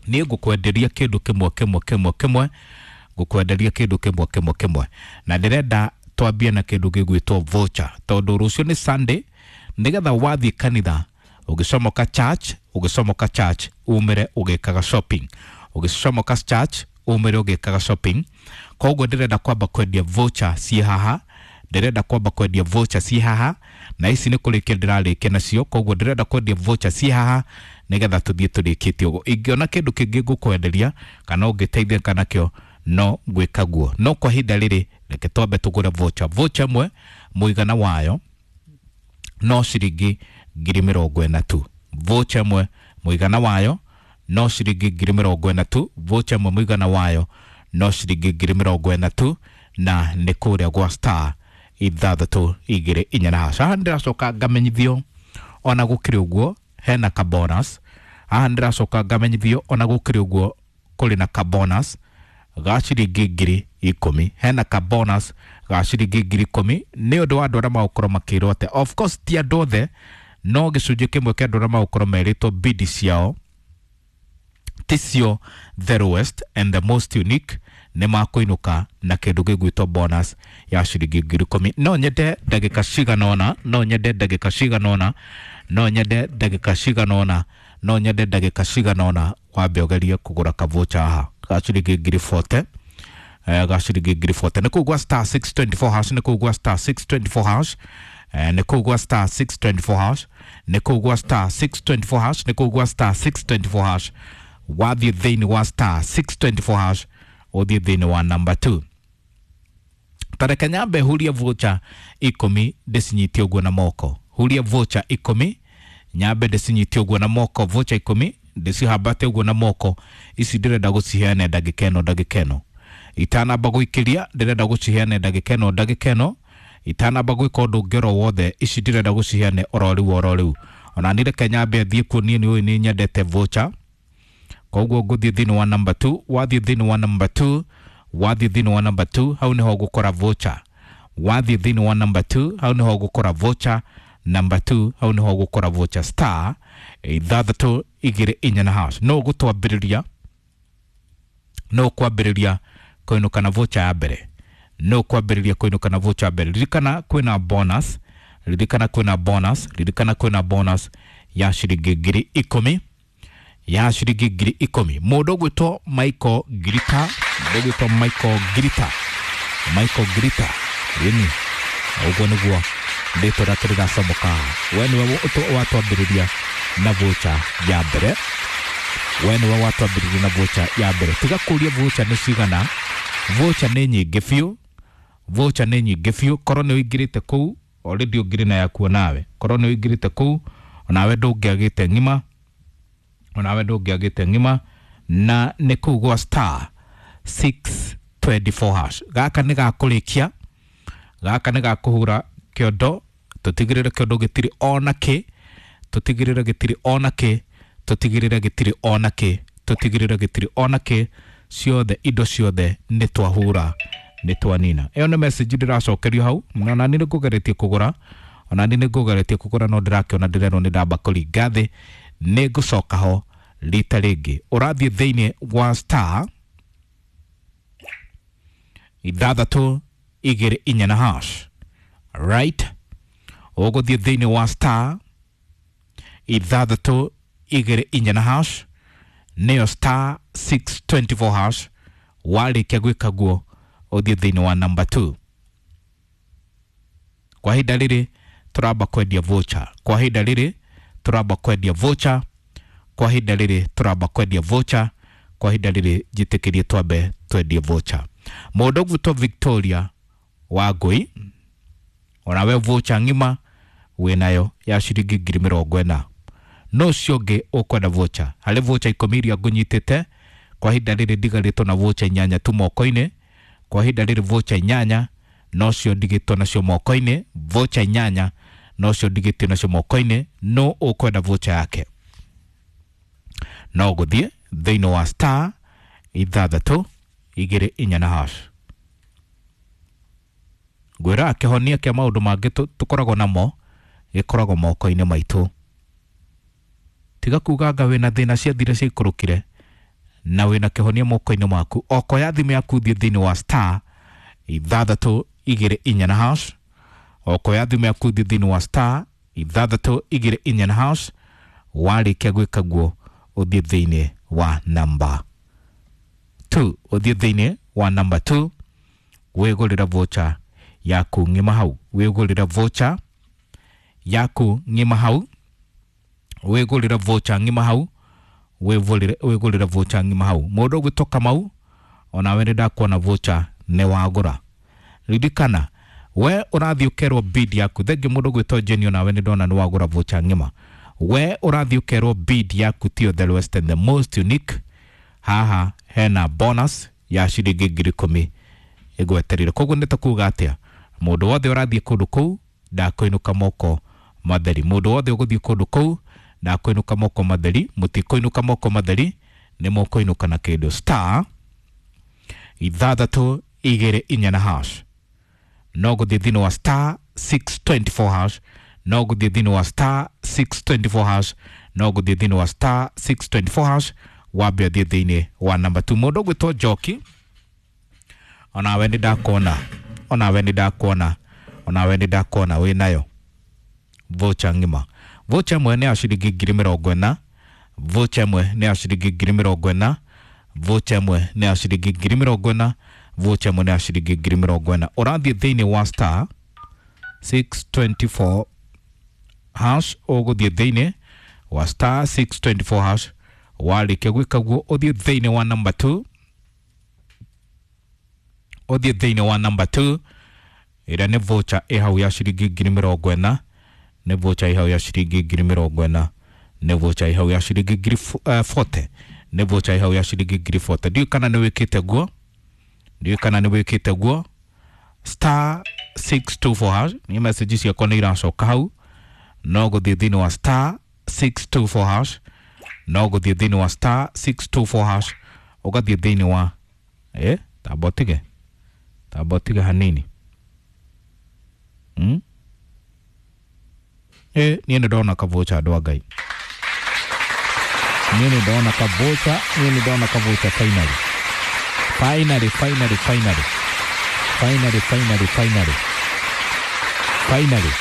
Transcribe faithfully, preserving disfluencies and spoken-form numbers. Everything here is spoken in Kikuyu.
Niĩ ngũkwenderia kĩndũ kĩmwe kĩmwe kĩmwe kĩmwe, ngũkwenderia kĩndũ kĩmwe kĩmwe kĩmwe, na ndĩrenda twambie na kĩndũ gĩgwĩtwo voucher, tondũ rũciũ nĩ Sunday, nĩgetha wathiĩ kanitha ũgĩcomoka church, ũgĩcomoka church umĩre ũgĩkaga shopping, ũgĩcomoka church umĩre ũgĩkaga shopping. Koguo ndĩrenda kwamba kwendia voucher ciĩ haha, ndĩrenda kwamba kwendia voucher ciĩ haha, na ici nĩ kũrĩkia ndĩrarĩkia nacio. Koguo ndĩrenda kwendia voucher ciĩ haha nĩgetha tũthiĩ tũrĩkĩtie ũguo. Ingĩona kĩndũ kĩngĩ ngũkwenderia kana ũngĩteithĩka nakĩo, no ngwĩka guo, no kwa ihinda rĩrĩ reke twambe tũgũre voucher. Voucher ĩmwe mũigana wayo no ciringi ngiri mĩrongo ĩna tu. Voucher ĩmwe mũigana wayo no ciringi ngiri mĩrongo ĩna tu. Voucher ĩmwe mũigana wayo no ciringi ngiri mĩrongo ĩna tu, na nĩ kũrĩa gwa star ithathatũ igĩrĩ inya na hash. Haha ndĩracoka ngamenyithio ona gũkĩrĩ ũguo hena ka bonus. Haha ndĩracoka ngamenyithio ona gũkĩrĩ ũguo kũrĩ na ka bonus ga ciringi ngiri ikũmi. Hena ka bonus ga ciringi ngiri ikũmi nĩ ũndũ wa andũ arĩa magũkorwo makĩrwo atĩ, of course ti andũ othe, no gĩcunjĩ kĩmwe kĩa andũ arĩa magũkorwo merĩtwo bidi ciao ticio the lowest and the most unique nĩ makũinũka na kĩndũ gĩgwĩtwo bonus ya ciringi ngiri ikũmi. No nyende ndagĩka cigana ũna, no nyende ndagĩka cigana ũna, no nyende ndagĩka cigana ũna, no nyende ndagĩka cigana ũna wambe ũgerie kũgũra kavocha haha ga ciringi ngiri mĩrongo ĩna, eh, ga ciringi ngiri mĩrongo ĩna. Nĩ kũu gwa star six two four hash, nĩ kũu gwa star six two four hash, eh, nĩ kũu gwa star six two four hash, nĩ kũu gwa star six two four hash, nĩ kũu gwa star six two four hash. Wathiĩ thĩinĩ wa star six two four hash, ũthiĩ thĩinĩ wa number two. Tareke nyambe hurie voucher ikũmi ndĩcinyitie ũguo na moko. Hurie voucher ikũmi nyambe ndĩcinyitie ũguo na moko. Voucher ikũmi ndĩcihambate ũguo na moko. Ici ndĩrenda gũciheana ndagĩka ĩno, ndagĩka ĩno itanamba gũikĩria, ndĩrenda gũciheana ndagĩka ĩno, ndagĩka ĩno itanamba gwĩka ũndũ ũngĩ oro wothe. Ici ndĩrenda gũciheane oro rĩu, oro rĩu. Ona niĩ reke nyambe thiĩ kuo, niĩ nĩ ũĩ nĩ nyendete voucher. Koguo ngũthiĩ thĩinĩ wa number two. Wathiĩ thĩinĩ wa number two, wathiĩ thĩinĩ wa number two, hau nĩho ũgũkora voucher. Wathiĩ thĩinĩ wa number two, hau nĩho ũgũkora voucher. Number two, hau nĩho ũgũkora voucher, star ithathatũ igĩrĩ inya na hash. No ũgũtwambĩrĩria, no ũkwambĩrĩria kũinũka na voucher ya mbere, no ũkwambĩrĩria kũinũka na voucher ya mbere. Ririkana kwĩna bonus, ririkana kwĩna bonus, ririkana kwĩna bonus ya ciringi ngiri ikũmi, ya ciringi ngiri ikũmi. Mũndũ ũgwĩtwo Michael Ngirita, mũndũ ũgwĩtwo Michael Ngirita, Michael Ngirita, ĩni ũguo nĩguo rĩtwa rĩake rĩracomoka. We nĩwe watwambĩrĩria na voucher ya mbere, we nĩwe watwambĩrĩria na voucher ya mbere. Tiga kũria voucher nĩ cigana, voucher nĩ nyingĩ biũ, voucher nĩ nyingĩ biũ. Korwo nĩ ũingĩrĩte kũu already, ũngĩrĩ na yakuo nawe. Korwo nĩ ũingĩrĩte kũu onawe, ndũngĩagĩte ng'ima, onawe ndũngĩagĩte ng'ima. Na nĩ kũu gwa star six two four hash. Gaka nĩ gakũrĩkia, gaka nĩ gakũhura kĩondo, tũtigĩrĩre kĩondo gĩtirĩ ona kĩ, tũtigĩrĩre gĩtirĩ ona kĩ, tũtigĩrĩre gĩtirĩ ona kĩ, tũtigĩrĩre gĩtirĩ ona kĩ. Ciothe, indo ciothe nĩ twahura, nĩ twanina. Ĩyo nĩ message ndĩracokerio hau. Ona niĩ nĩ ngũgeretie kũgũra, ona niĩ nĩ ngũgeretie kũgũra, no ndĩrakĩona ndĩrerwo nĩ ndamba kũringa thĩ. Nĩ ngũcoka ho rita rĩngĩ. Ũrathiĩ thĩinĩ wa star ithathatũ igĩrĩ inya na hash, right? Ũgũthiĩ thĩinĩ wa star ithathatũ igĩrĩ inya na hash, nĩyo star six two four hash. Warĩkia gwĩka guo, ũthiĩ thĩinĩ wa number two. Kwa ihinda rĩrĩ tũramba kwendia voucher, kwa ihinda rĩrĩ tũramba kwendia voucher, kwa ihinda rĩrĩ tũramba kwendia voucher, kwa ihinda rĩrĩ njĩtĩkĩrie twambe twendie voucher. Mũndũ ũgwĩtwo Victoria Wangũi, onawe voucher ng'ima wĩnayo ya ciringi ngiri mĩrongo ĩna. No ũcio ũngĩ ũkwenda voucher, harĩ voucher ikũmi iria ngũnyitĩte kwa ihinda rĩrĩ, ndigarĩtwo na voucher inyanya tu moko-inĩ. Kwa ihinda rĩrĩ voucher inyanya nocio ndigĩtwo nacio moko-inĩ, voucher inyanya nocio ndigĩtio nacio moko-inĩ. No ũkwenda voucher yake, no gũthiĩ thĩinĩ wa star ithathatũ igĩrĩ inya na hash. Ngwĩra kĩhonia kĩa maũndũ mangĩ tũ- tũkoragwo namo gĩkoragwo moko-inĩ maitũ. Tiga kuga anga wĩna thĩna, ciathire ciaikũrũkire. Na wĩna kĩhonia moko-inĩ maku. Okoya thimũ yaku thiĩ thĩinĩ wa star ithathatũ igĩrĩ inya na hash. Okoya thimũ yaku thiĩ thĩinĩ wa star ithathatũ igĩrĩ inya na hash. Warĩkia gwĩka guo ũthiĩ thĩinĩ wa namba two, ũthiĩ thĩinĩ wa namba two wĩgũrĩre voucher yaku ng'ima hau, wĩgũrĩre voucher yaku ng'ima hau, wĩgũrĩre voucher ng'ima hau, wĩgũrĩre wĩgũrĩre voucher ng'ima hau. Mũndũ ũgwĩtwo Kamau, onawe nĩ ndakuona voucher nĩ wagũra. Ririkana we ũrathiĩ ũkerwo bid yaku. Thengiũ mũndũ ũgwĩtwo Jane, onawe nĩ ndona nĩ wagũra voucher ng'ima. We ũrathiĩ ũkerwo bid yaku tiyo the lowest and the most unique. Haha hena bonus ya ciringi ngiri ikũmi ĩgweterire. Koguo nĩ ta kuga atĩa, mũndũ wothe ũrathiĩ kũndũ kũu ndakũinũka moko matheri. Mũndũ wothe ũgũthiĩ kũndũ kũu ndakũinũka moko matheri. Mũtikũinũka moko matheri, nĩ mũkũinũka na kĩndũ. Star ithathatũ igĩrĩ inya na hash. No gũthiĩ thĩinĩ wa star six twenty four hash, no gũthiĩ thĩinĩ wa star six twenty four hash, no gũthiĩ thĩinĩ wa star six twenty four hash, wambe ũthiĩ thĩinĩ wa namba two. Mũndũ ũgwĩtwo Njoki, onawe nĩ ndakuona, onawe nĩ ndakuona, onawe nĩ ndakuona wĩ nayo voucher ng'ima. Voucher ĩmwe nĩ ya ciringi ngiri mĩrongo ĩna, voucher ĩmwe nĩ ya ciringi ngiri mĩrongo ĩna, voucher ĩmwe nĩ ya ciringi ngiri mĩrongo ĩna, voucher ĩmwe nĩ ya ciringi ngiri mĩrongo ĩna. Ũrathiĩ thĩinĩ wa star six twenty four hash, ũgũthiĩ thĩinĩ wa star six twenty four hash. Warĩkia gwĩka guo ũthiĩ thĩinĩ wa number two, ũthiĩ thĩinĩ wa number two ĩrĩa nĩ voucher ĩ hau ya ciringi ngiri mĩrongo ĩna, nĩ voucher ĩ hau ya ciringi ngiri mĩrongo ĩna, nĩ voucher ĩ hau ya ciringi ngiri forty, nĩ voucher ĩ hau ya ciringi ngiri forty. Ndiũĩ kana nĩ wĩkĩte guo, ndiũĩ kana nĩ wĩkĩte guo. Star six two four hash, nĩ message ciakwa nĩ iracoka hau. No gũthiĩ thĩinĩ wa star six two four hash, no gũthiĩ thĩinĩ wa star six two four hash, ũgathiĩ thĩinĩ wa eh tamba ũtige, tamba ũtige hanini. Hmm? Eh, niĩ nĩ ndona kavocha andũ a Ngai. Niĩ nĩ ndona kavocha, niĩ nĩ ndona kavocha finally. Finally, finally, finally. Finally, finally, finally. Finally.